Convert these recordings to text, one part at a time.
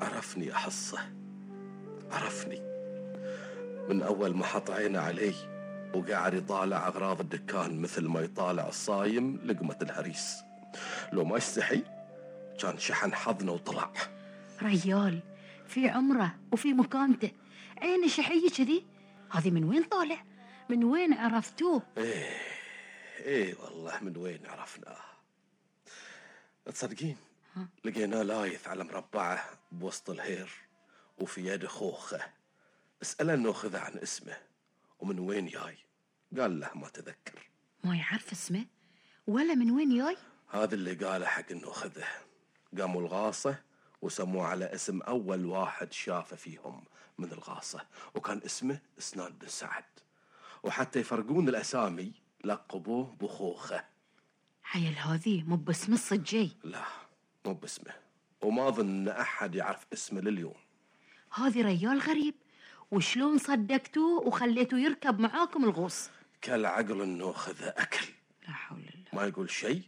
عرفني أحصه، عرفني من أول ما حط عينه علي وقاعد يطالع أغراض الدكان مثل ما يطالع الصايم لقمة الهريس. لو ما يستحي كان شحن حظنا وطلع. ريال في عمره وفي مكانته، عين شحية كذي، هذه من وين طالع؟ من وين عرفتوه؟ ايه والله من وين عرفناه. تصدقين لقيناه لايث على مربعه بوسط الهير وفي يده خوخه. اسأله النوخذه عن اسمه ومن وين جاي، قال له ما تذكر. ما يعرف اسمه ولا من وين جاي؟ هذا اللي قاله حق النوخذه. قاموا الغاصة وسموه على اسم أول واحد شافه فيهم من الغاصة، وكان اسمه سنان بن سعد، وحتى يفرقون الأسامي لقبوه بخوخة. عيل هذه مو باسم الصجي؟ لا مو باسمه، وما ظن أحد يعرف اسمه لليوم. هذه ريال غريب، وشلون صدقتوه وخليتوه يركب معاكم الغوص؟ كالعقل النوخذة أكل، لا حول الله، ما يقول شيء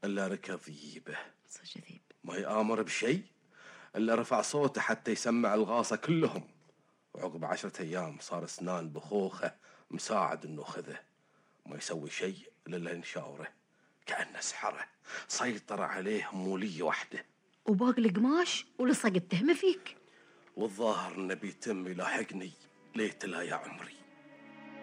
إلا ركض يجيبه، صج ذيب، ما يآمر بشيء إلا رفع صوته حتى يسمع الغاصة كلهم. وعقب 10 أيام صار سنان بخوخة مساعد النوخذة، ما يسوي شيء إلا ينشاوره، كأنه سحره سيطر عليه مولية واحدة. وباقي القماش ولصق التهمة فيك. والظاهر إنه بيتم يلاحقني ليت لا يا عمري.